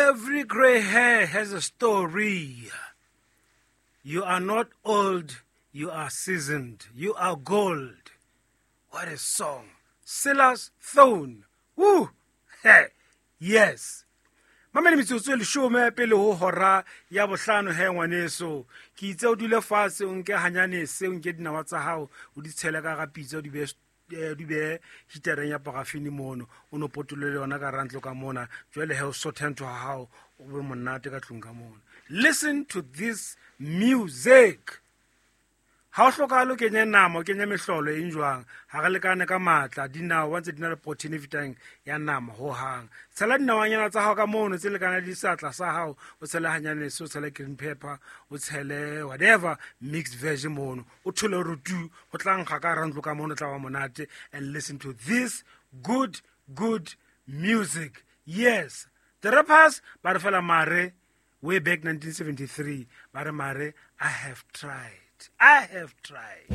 Every gray hair has a story. You are not old, you are seasoned. You are gold. What a song. Silas Thone. Woo! Hey, yes. Mamele metsotso e leshome pele ho hora ya bohlano he ngwaneso. Ke itse o dule fatshe o nke hanyane se o nke dinawa tsa hao o di tshele ka ga pitsa o di behe di behe hitereng ya parafini mono o no potolole yona ka rantlo ka mona jwale he o sothe ntho ha hao o be monate ka tlung ka mona. Listen to this music. Ha o hlokahale o kenye nama o kenye mehlolo eng jwang ha re lekane ka matla dinawa ntse di na le protein e fetang ya nama ho hang. Tshela dinawanyana tsa hao ka mono tse lekana le seatla sa hao o tshele hanyane se o tshele green pepper o tshele whatever mixed veg mono o thole hore tu ho tla nkga ka hara ntlo ka mono tla ba monate and listen to this good good music. Yes, the rappers ba re fela mare way back 1973 ba re mare I have tried, I have tried.